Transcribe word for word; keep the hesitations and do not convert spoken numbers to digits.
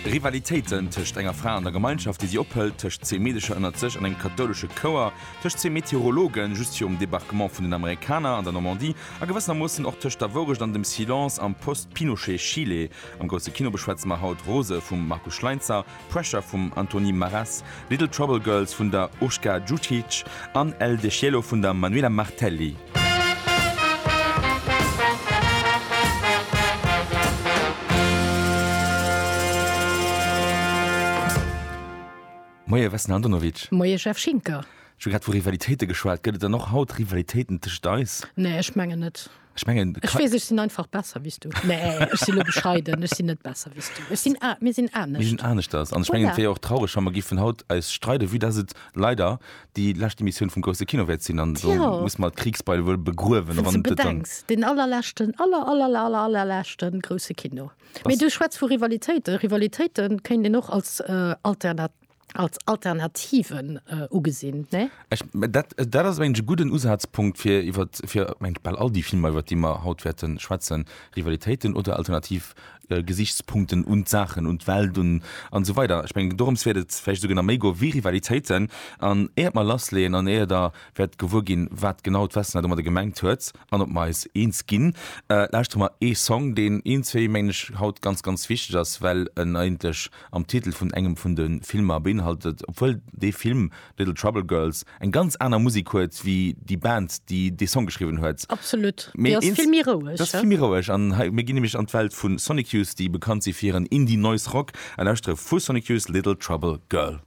Rivalitéiten tëscht enger Fra an der Gemeinschaft, déi si ophëlt, tëscht zwee Meedecher ënnert sech an engem kathoulesche Chouer, tëscht zwee Meteorologen just virum Debarquement vun den Amerikaner an der Normandie a gewëssenermoossen och tëscht der Wourecht an dem Silence am Post-Pinochet-Chile. Am Grousse Kino beschwätze mer haut Rose vum Markus Schleinzer, Pressure vum Antoni Maras, Little Trouble Girls vun der Urška Djukic an El Deshielo vun der Manuela Martelli. Moie Vesna Andonovic. Moie Jeff Schinker. Ech hu grad vu Rivalitéite geschwat. Gëtt et dann och haut Rivalitéiten tëscht eis? Nee, ech mengen net. Ech mengen, Ech weess, ech sinn einfach besser wéi s du. Nee, ech sinn elo bescheiden, ech sinn net besser wéi s du. Ech sinn a, mir sinn Mir sinn anescht. aneschters. An ech mengen, Voilà. et wär jo och traureg, wa mer giffen haut eis streiden, vue dass et leider déi lescht Emissioun vum Grousse Kino wäert sinn. An do Tjo. muss mer d'Kriegsbeil wuel begruewen, Wann s wann de et dann. bedenks, deen allerleschten, aller, aller, aller, allerleschten Grousse Kino. Mee Dass. du schwätz vu Rivalitéiten. Rivalitéite kéint een och als Alternat, als Alternativen ugesinn, ne? Ech, dat, dat ass mengen ech e gudden Usazpunkt fir iwwer, fir mengen ech bal all déi Filmer iwwer déi mer haut wäerte schwätzen, Rivalitéiten oder alternativ Gesichtspunkten un d'Saachen, un d'Welt, un an esou weider. Ech mengen dorëms wäert et vläicht esouguer nach méi goe wéi Rivalitéiten. An éiert mer lassleeën an éier Der wäert gewuer ginn, wat genau d'Vesna domadder gemengt huet an ob mer eis eens ginn, lauschtere mer ee Song, deen iergendwéi mengen ech haut ganz, ganz wichteg ass, well en eigentlech am Titel vun engem vun de Filmer beinhaltet, obwuel dee Film Little Trouble Girls eng ganz aner Musek huet wéi déi Band, déi dee Song geschriwwen huet. Absolut, Mee déi ass eens, vill méi roueg, dat ass he? vill méi roueg. An hei, mir ginn nämlech an d'Welt vu Sonic Youth, déi bekannt si fir hiren Indie Noise Rock, a lauschtere vu Sonic Youth Little Trouble Girl.